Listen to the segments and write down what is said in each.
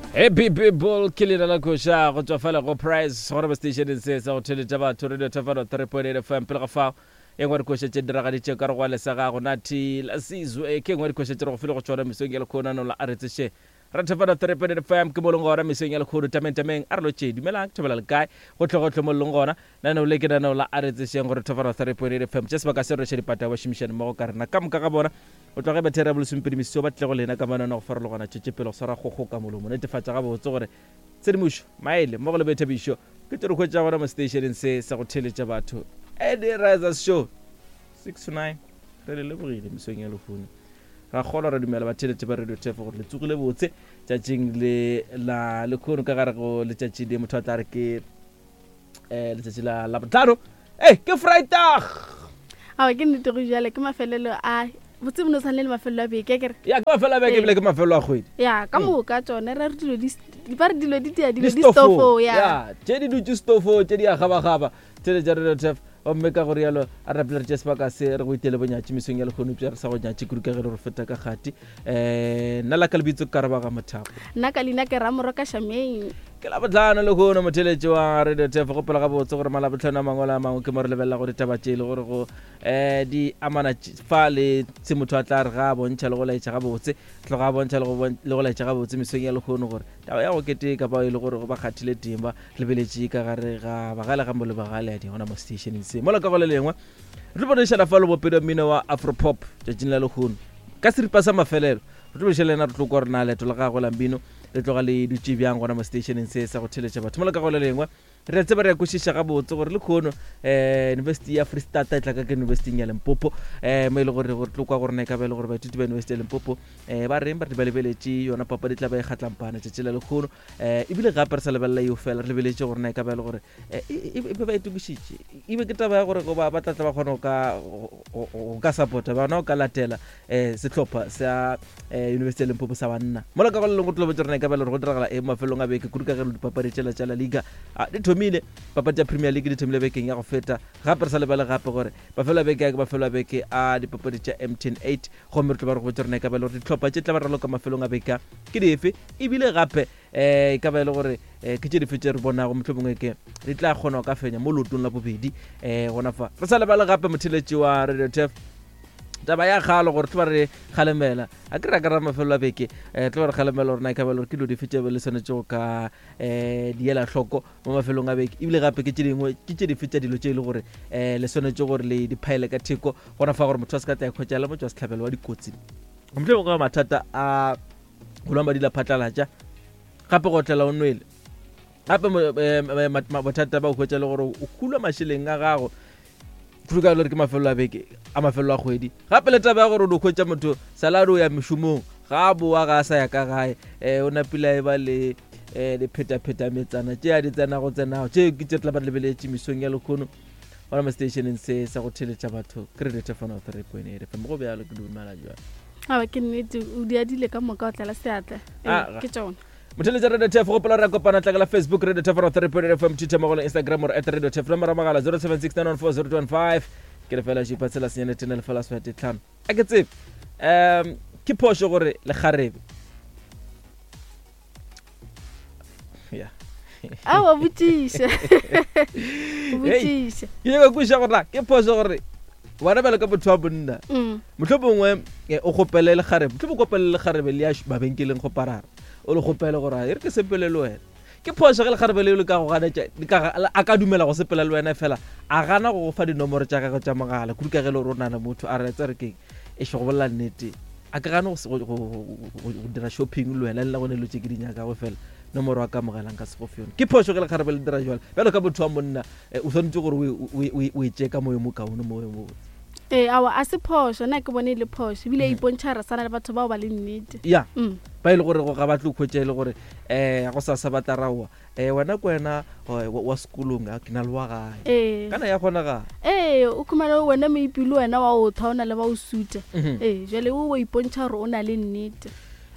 Happy people ke leina la koša go tšwa fela go price gona mo stationeng se sa go theletša batho radio thefano 3.8 fm pele ga fao e nngwe dikoša tše diragaditše ka re go alesa gago nathi la sizwe ke nngwe dikoša tše re go file go tšona mesong ya lekhono ano la aretseshe ra thefano 3.8 fm ke mo leng gona mesong ya lekhono tameng tameng a re lo tše dumelang ke thobela le kae gotlhe gotlhe mo leng gona Lenaneo le ke lenaneo la A Re Tsešeng gore Thofara 3.8 FM tše sebaka se rweše dipata ba šomišane mmogo ka rena ka moka ga bona go tloga ge batheri ya bolesomepedi meso ba tlile go lena ka mananeo a go farologana tšwetše pele go swara kgokgo ka molomo netefatša gabotse gore tshedimošo maele mmogo le boithabišo ke tše re hwetša gona mo seteišeneng se sa go theeletša batho Eddie Risers Show 6 to 9 re le lebogile mesong ya lehono ra kgolwa ra dumela batheeletši ba radio tefo gore le tsogile botse tšatšing le la lekhono ka gare go letšatši le motho a tla re ke um letšatši la labotlhano e ke freitag awa ke nnete go jale ke mafelelo a botse bo no tshwane le mafelelo a beke kere ya ke mafelelo a beke ebile ke mafelelo a kgwedi ya ka mm. moka tsone re re dilo di ba re dilo di tia dilo di stofo ya tše di dutše stofo tše di a gabagaba tšele tša radio tef gomme ka go rialo a re rapela re tše sebaka se re go itele bonyatši mesong ya lekgono upša re sa go nyatše kudu ka ge re re feta ka kgati um nna la ka lebitso ke karabaga mothapo nna ka leina ke ramoro ka shameng Ke Labohlano lehono, motheeletši wa Radio Turf. Gopola gabotse gore Malabohlano a mangwe le a mangwe ke mo re lebelelago ditaba tše e le gore go um di amana fa le se motho a tla re ga a bontšha le go laetša gabotse, tloga a bontšha le go laetša gabotse mesong ya lehono gore taba ya go keteka bao e le gore ba kgathile teng ba lebeletše ka gare ga bagale ga molo bagale a di gona mo stationeng se. Mola ka go le lengwe re tlo boledišana fa le bopedi wa mmino wa Afropop tšatšing la lehono ka seripa sa mafelelo. Re tlo boledišana le yena re tlo kwa gore na leeto la gagwe la mmino le tloga le dutše bjang gona mo stationeng se sa go theletša batho. Mola ka go le lengwe re a tseba re a kwešiša gabotse gore lekhono um university ya Freistata e tla ka ka universityng ya Limpopo um mo e le gore gore tlo kwa gore na e ka ba e le gore baithuti ba university ya Limpopo um ba reng ba re ba lebeletše yona papadi tla ba e kgatlampana tšatši la lekhono um ebile gape re sa lebelela eo fela re lebeletše gore na e ka ba e le gore eh, e, e, e be ba itokišitše e be ke taba ya gore goba ba tla tla ba kgona go ka support-a ba gona go ka latela um sehlopha sa um university ya limpopo sa banna mola ka go le lengwe tlo botsa rena e ka ba le gore go diragala eng mafelong a beke kudu ka ge dipapadi tšela tša la liga di thomile papadi tša premier league di thomile bekeng ya go feta gape re sa lebale gape gore mafelo a beke a ke mafelo a beke a dipapadi tša mtn 8 gomme re tlo ba re go botsa rena e ka ba le gore dihlopha tše tla ba raloka mafelong a beke a ke dife ebile gape um e ka ba e le gore um ke tše dife tše re bonago motlho mongwe ke di tla kgona go ka fenya mo leotong la bobedi um gona fa re sa lebale gape motheletši wa radio tef taba ya kgalo gore tlo ba re kgalemela a ke re ka ra mafelelo a beke um tlo ba re kgalemela gore na e ka ba le gore ke dilo dife tše le swanetše go ka um di ela hloko mo mafelong a beke ebile gape ke tše dingwe ke tše dife tša dilo tše e le gore um le swanetše gore le di phaele ka theko gona fa gore motho a se ka tla ikhwetša le motho wa setlhabelo wa dikotsi motlho mongwe mathata a go nwa madi la phatlalatša gape go otlela o nwele gape eh, bothata ba o hwetša le gore o hulwa mašeleng a gago kudu ka gore ke mafelelo a beke a mafelelo a kgwedi gape le taba ya gore o di hwetša motho salad o ya mešomong ga a boa ga a sa ya ka gae um o napile a e ba le um diphetapheta metsana tše a di tsenago tsenago tše ke tše tla ba lebeletše mesong ya lekgono gona mo stationeng se sa go theletša batho ke radio tefano 3.8 fm go bjalo ke dumela jalo aba ke nnete o di adile ka moka o tlala seatla Ee, Ah, ke tsona motheletša radio tef gopola re a kopana tlakela facebook radio tefano 3.8 fm twitter mogolo instagram or at radio tef nomoro ya mogala 076914 ke lefela šupa tshela senyane tene lefela swete tlhano a ke tsebe um ke phošo gore lekgarebe ya awa botšiša botšiša ke nyaka kwešiša gore na ke phoso gore wena bjalo ka motho wa monna mm. motlho mongwe eh, o kgopele lekgarebe motlho mongwe kopele lekgarebe le ya mabenkeleng go parara o le kgopele gore e re ke sepele le wena ke phoso ge lekgarebe leo le ka go ganetša a ka dumela go sepela le wena fela a gana go go fa dinomoro tša gagwe tša mogala kudu ka ge le gore o nana motho a re tse re keng e go bolela nnete a ke gane go dira shopping le wena le nna go ne dilo tše ke di nyakago fela nomoro a ka amogelang ka se go fe yone ke phošo ge lekgarebe le dira jalo bjalo ka motho wa monna eh, o swanetše gore o e tšee ka moyo mo kaone moyo mo botse ee awa a se phošo nna ke bone e le phošo ebile e ipontšha re sana le batho bao ba le nnete ya mm. ba e le gore ga ba tlo khwetša e le gore um go sa sa ba tla raowa um wena ke wena wa sekolong a ke na le wa gae ee kana ya kgonagala ee o khumane wena moipile wena wa o tha o na le ba o suta mhm. ee jale o ipontšha gore o na le nnete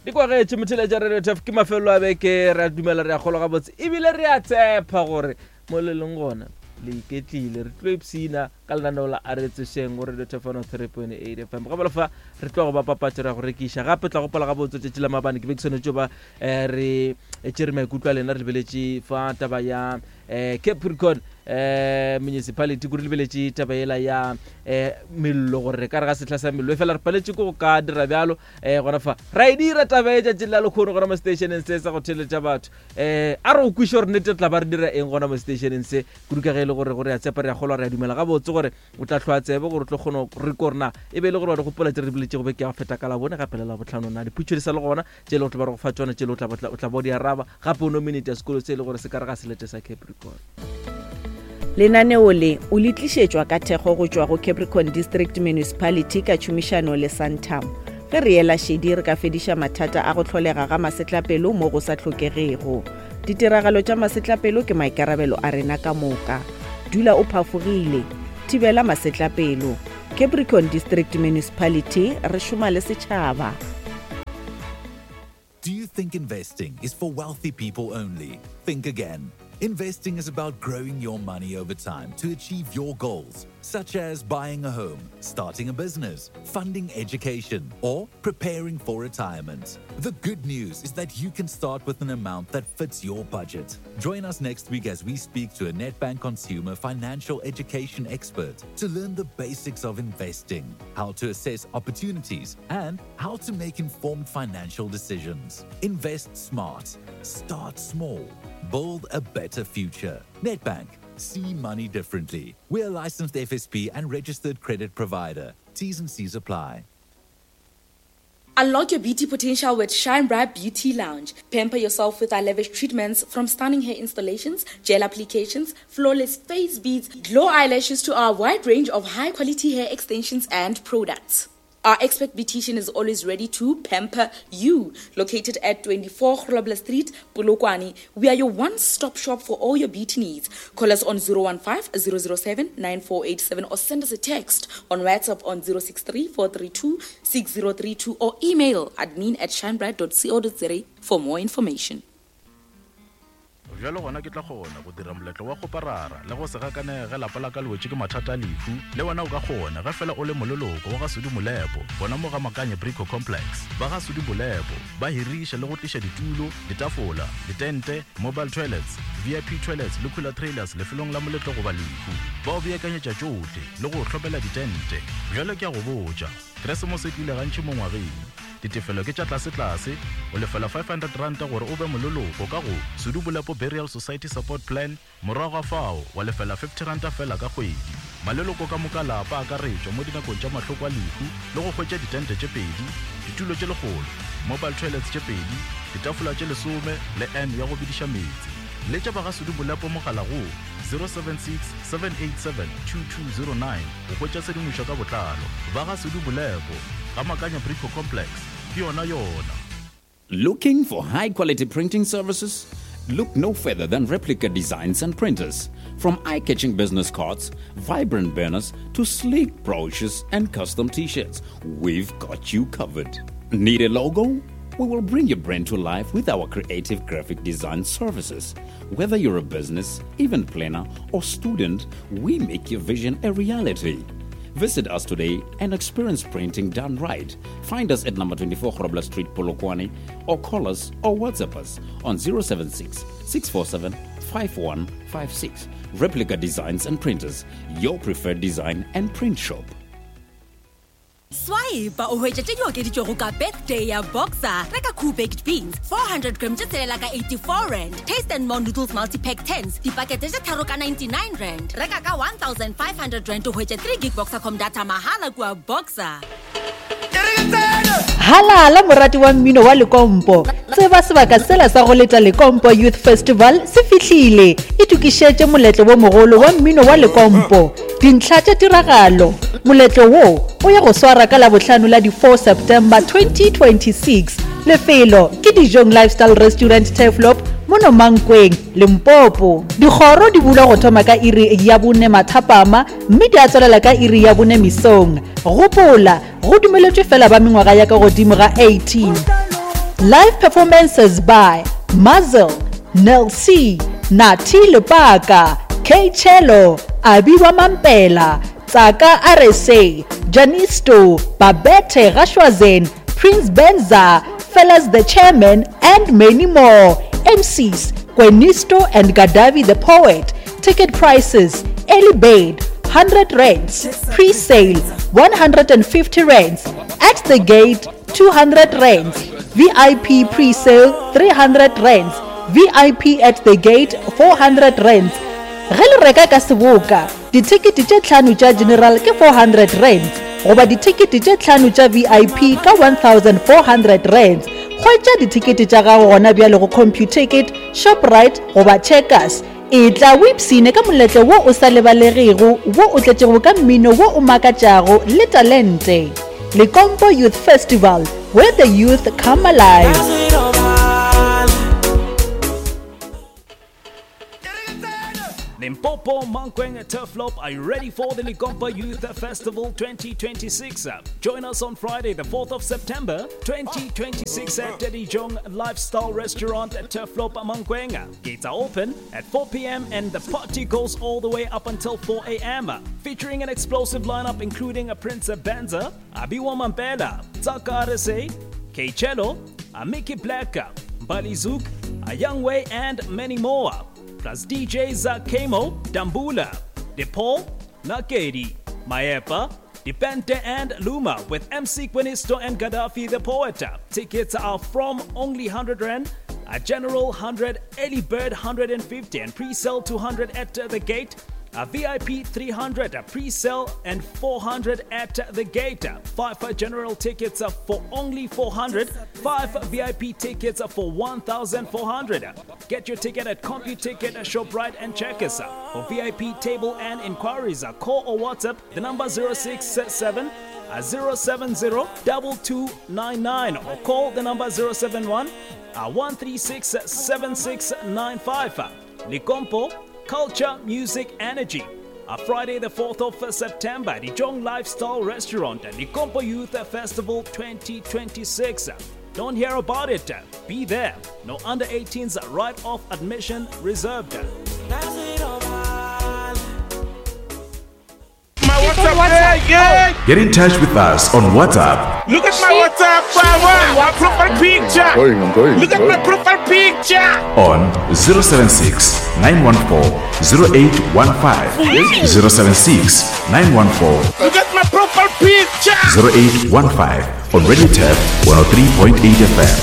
di kwagetše motheletša radio tf ke mafelelo a beke re a dumela re a kgolwa gabotse ebile re a tshepa gore mo le leng gona Le iketlile, re tlo ipshina ka lenaneo la A Re Tsošeng go Radio Thefano 3.8 FM. Ga bjalo fa re tlo go ba papatšo ra go rekiša. Gape tla gopola gabotse tšatši la maabane ke be ke swanetše ba eh, re tšere maikutlo a lena re lebeletše fa taba ya eh, Capricorn eh, municipality kore lebeletše taba yela ya eh, mello gore re ka re ga sehla sa mello e fela re paletše ke go ka dira bjalo eh, gona fa ra e dira taba e tšatšing la lekgono gona mo stationeng se sa go theletša batho um a re o kwiše gore nnete tla ba re dira eng gona mo stationeng se kudu ka ge e le gore gore ya tsepa re ya kgolwa re ya dumela gabotse gore o tla tlhoa tsebe gore o tlo kgona re ko rena e be e le gore wa di gopola tse re di boletšego beke ya go feta ka labone gape le labotlhano na diputšo di sa le gona tše e le go tlo ba re go fa tšona tše e le o tla ba o di araba gape o nominate ya sekolo se e le gore se ka re ga selete sa Capricorn. Lenaneo le o le tlišetšwa ka thekgo go tšwa go Capricorn District Municipality ka tšhomišano le Santam. Ge re ela šedi re ka fediša mathata a go hlolega ga masetlapelo mo go sa hlokegego. Ditiragalo tša masetlapelo ke maikarabelo a rena ka moka. Dula o phafogile. Thibela masetlapelo. Capricorn District Municipality, re šoma le setšhaba. Do you think investing is for wealthy people only? Think again. Investing is about growing your money over time to achieve your goals, such as buying a home, starting a business, funding education, or preparing for retirement. The good news is that you can start with an amount that fits your budget. Join us next week as we speak to a Nedbank consumer financial education expert to learn the basics of investing, how to assess opportunities, and how to make informed financial decisions. Invest smart, start small, build a better future. Nedbank, see money differently. We're a licensed FSP and registered credit provider. T's and C's apply. Unlock your beauty potential with Shine Bright Beauty Lounge. Pamper yourself with our lavish treatments from stunning hair installations, gel applications, flawless face beads, glow eyelashes to our wide range of high quality hair extensions and products. Our expert beautician is always ready to pamper you. Located at 24 Grobler Street, Polokwane, we are your one-stop shop for all your beauty needs. Call us on 015 007 9487 or send us a text on WhatsApp on 063 432 6032 or email admin at shinebright.co.za for more information. Bjalo gona ke tla kgona go dira moletlo wa kgoparara le go se gakanege ge lapa la ka le wetše ke mathata a lehu. Le wena o ka kgona ge fela o le moleloko wa ga Sudi Molepo gona mo ga Makanye Brico Complex. Ba ga Sudi Molepo ba hiriša le go tliša ditulo, ditafola, ditente, mobile toilets, VIP toilets le cooler trailers lefelong la moletlo goba lehu. Ba o beakanyetša tšohle le go o hlomela ditente. Bjalo ke a go botša, Keresemose e tlile gantši mo ngwageng. Ditefelo ke tša tlasetlase, o lefela R500 gore o be moleloko ka go Sudu Bolepo Burial Society Support Plan, morago ga fao wa lefela R50 feela ka kgwedi. Maleloko ka moka a lapa a akaretšwa mo dinakong tša mahloko a lehu le go hwetša ditente tše pedi, ditulo tše lekgolo, mobile toilets tše pedi, ditafola tše lesome le urn ya go bediša meetse. Letša ba ga Sudu Bolepo mogala go 076 787 2209 go hwetša tshedimošo ka botlalo. Ba ga Sudu Bolepo. Ga Makanya Brico Complex, ke yona yona. Looking for high quality printing services? Look no further than Replica Designs and Printers. From eye catching business cards, vibrant banners, to sleek brochures and custom t shirts, we've got you covered. Need a logo? We will bring your brand to life with our creative graphic design services. Whether you're a business, event planner, or student, we make your vision a reality. Visit us today and experience printing done right. Find us at number 24 Grobler Street, Polokwane, or call us or WhatsApp us on 076 647 5156. Replica Designs and Printers, your preferred design and print shop. Swipe o hwetše tše di okeditšwego ka birthday ya Boxer. Reka Koo baked beans 400 gram tše tshelela ka 84 rand. Taste and More noodles multi-pack tens dipakete tše tharo ka 99 rand. Reka ka 1500 rand o hwetše 3 gig Boxercom data mahala kua Boxer. Halala morati wa mmino wa Lekompo. Tseba sebaka sela sa go leta Lekompo Youth Festival se fihlile. Itokišetše moletlo wo mogolo wa mmino wa Lekompo. Dintlha tša tiragalo, Moletlo wo o ya go swara ka Labohlano la di 4 September 2026. Lefelo ke Dijong Lifestyle Restaurant Turfloop mono Mankweng, Limpopo. Dikgoro di bulwa go thoma ka iri ya bone mathapama mme di a tswalela ka iri ya bone mesong. Gopola, go dumeletšwe fela ba mengwaga ya ka godimo ga 18. Live performances by Muzzle, Nel C, Nathi Lepaka, Kchelo, Abiwa Mampela, Tsaka RSA, Janisto, Babette Gashwazen, Prince Benza, Fellas the Chairman, and many more. MCs, Kwenisto and Gaddafi the Poet. Ticket prices, early bird, 100 rands, pre-sale, 150 rands, at the gate, 200 rands, VIP pre-sale, 300 rands, VIP at the gate, 400 rands. Ge le reka ka seboka, dithekete tše tlhano tša general ke 400 rands goba dithekete tše tlhano tša VIP ka 1400 rands. Hwetša dithekete tša gago gona bjale go Computicket, Shoprite goba Checkers. Etla o ipshine ka moletlo wo o sa lebalegego wo o tletšego ka mmino wo o makatšago le talente. Lekompo Youth Festival, where the youth come alive. Limpopo, Mankweng, Turfloop, are you ready for the Likompa Youth Festival 2026? Join us on Friday, the 4th of September 2026 at Jong Lifestyle Restaurant at Turfloop, Mankweng. Gates are open at 4 p.m. and the party goes all the way up until 4 a.m. Featuring an explosive lineup including a Prince Benza, Abiwa Mampela, Tsaka RSA, Keichelo, Amiki Black, Balizuk, A Young Way, and many more. Plus DJs Kemo, Dambula, DePaul, Nakedi, Maepa, Depente and Luma with MC Quinisto and Gaddafi the Poet. Tickets are from only 100 Rand, a general 100, early bird 150 and pre-sale 200 at the gate. A VIP 300, a pre-sale and 400 at the gate. 5 general tickets for only 400, 5 VIP tickets for 1,400. Get your ticket at CompuTicket, ShopRite and Checkers. For VIP table and inquiries, call or WhatsApp the number 067 070 2299 or call the number 071 136 7695. Likompo, Culture, Music, Energy. A Friday, the 4th of September, the Jong Lifestyle Restaurant at Likompo Youth Festival 2026. Don't hear about it. Be there. No under 18s right off admission reserved. My WhatsApp, yeah, yeah. Get in touch with us on WhatsApp. Look at my WhatsApp, my profile picture. I'm going, I'm going, Look at my profile picture. On 076 914 0815. 076 914 Look at my profile picture. 0815 on Radio Tab 103.8 FM.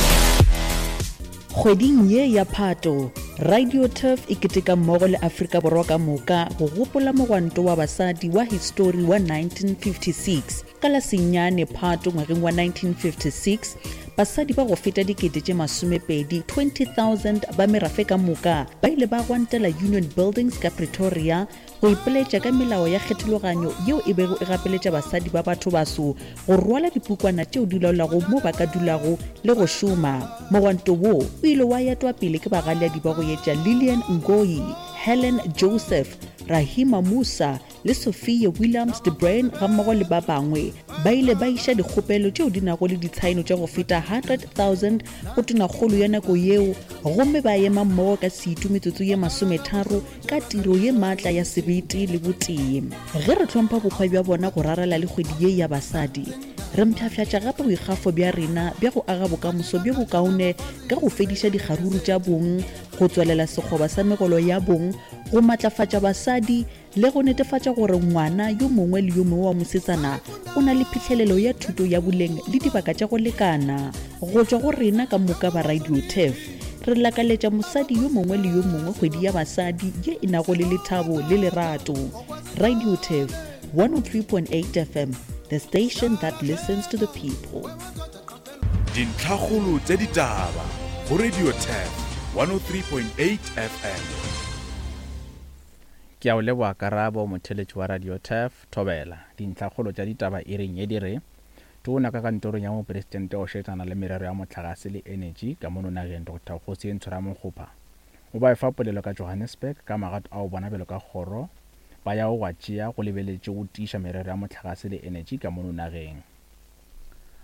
Kgweding ye ya Phato, Radio Turf e keteka mmogo le Afrika Borwa ka moka go gopola mogwanto wa basadi wa histori wa 1956. Ka la senyane Phato ngwageng wa 1956, basadi ba go feta dikete tše masomepedi 20,000 ba merafe ka moka ba ile ba gwantela Union Buildings ka Pretoria go ipoletša ka melao ya kgethologanyo yeo e bego e gapeletša basadi ba bathobaso go rwala dipukwana tšeo di laolago mo ba ka dulago le go šoma. Mogwanto wo o ile wa etwa pele ke bagalyadi ba go etša Lillian Ngoyi, Helen Joseph, Rahima Moosa le Sophia Williams de Bruyn gammogo le ba bangwe. Ba ile ba iša dikgopelo tšeo di nago le ditshaeno tša go feta 100,000 go tonakgolo ya nako yeo gomme ba ema mmogo ka setu metsotso ye masometharo ka tiro ye maatla ya sebete le botee. Ge re hlompha bohwa bja bona go rarela le kgwedi ye ya basadi, re mpshafšatša gape boikgafo bja rena bja go aga bokamoso bjo bokaone ka go fediša dikgaruru tša bong, go tswalela sekgoba sa megolo ya bong, go matlafatša basadi le go netefatša gore ngwana yo mongwe le yo mongwe wa mosetsana o na le phihlelelo ya thuto ya boleng le dibaka tša go lekana. Go tšwa go rena ka moka ba Radio Turf, re lakaletša mosadi yo mongwe le yo mongwe kgwedi ya basadi ye e nago le lethabo le lerato. Radio Turf, 103.8 FM, the station that listens to the people. Dintlhakgolo tša ditaba go Radio Turf 103.8 FM. Ke a o leboga Karabo, motheeletši wa Radio Turf, Thobela. Dintlhakgolo tša ditaba iring ye di re, Tona ka kantorong ya Mopresidente o šetšana le merero ya mohlagase le enetši ka mono nageng Doctor Kgosientsho Ramokgopa o ba efa polelo ka Johannesburg ka magato ao bona bjalo ka kgoro ba yago go a tšea go lebeletše go tiiša merero ya mohlagase le enetši ka mono nageng.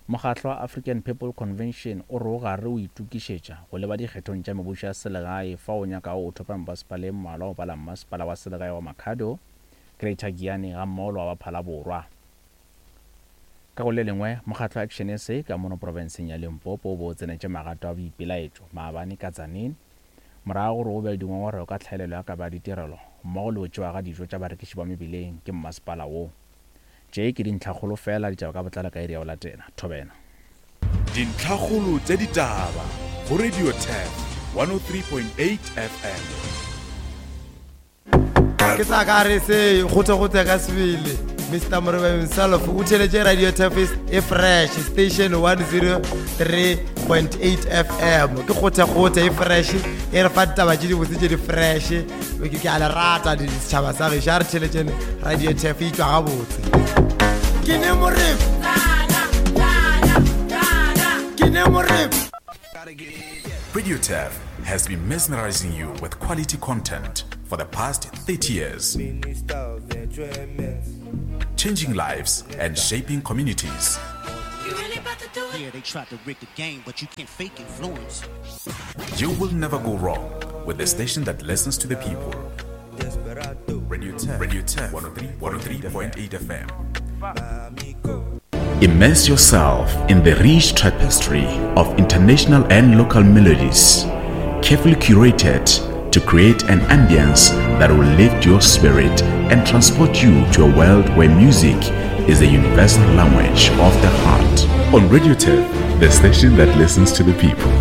Mokgatlo wa African People Convention o re o gare o itokišetša go leba dikgethong tša mebušo ya selegae fao o nyakago o thopa mebasepala e mmalwa go bala mmasepala wa selegae wa Makhado, Greater Giyani gammogo le wa Baphala Borwa. Ka go le lengwe, mokgatlo wa Action SA ka mono profenseng ya Limpopo o be o tsenetše magato a boipelaetšo maabane ka Tzaneen morago gore o be le dingongorego ka tlhaelelo ya kabo ya ditirelo mmogo le go tšewa ga dijo tša barekiši ba mebileng ke mmasepala wo. Tše ke dintlhakgolo feela, ditaba ka botlalo ka iri ya go latela. Thobela. Dintlhakgolo tša ditaba go Radio Turf 103.8 FM. Ke sa ka re se gote-gote ka sebele Mr Moreba himself o theletše Radio Turf e fresh station 103.8 FM ke gote-gote e fresh e re fa ditaba tše dibotse tše di fresh ke a le rata setšhaba sa gešo a re theletšene radio tf e tšwa gabotse ke ne morebo ke ne morebo Radio Turf has been mesmerizing you with quality content for the past 30 years. Changing lives and shaping communities. Yeah, they tried to rig the game, but you can't fake influence. You will never go wrong with the station that listens to the people. Radio 10, Radio 10, 103.8 FM. Immerse yourself in the rich tapestry of international and local melodies, carefully curated to create an ambience that will lift your spirit and transport you to a world where music is the universal language of the heart. On Radio 10, the station that listens to the people.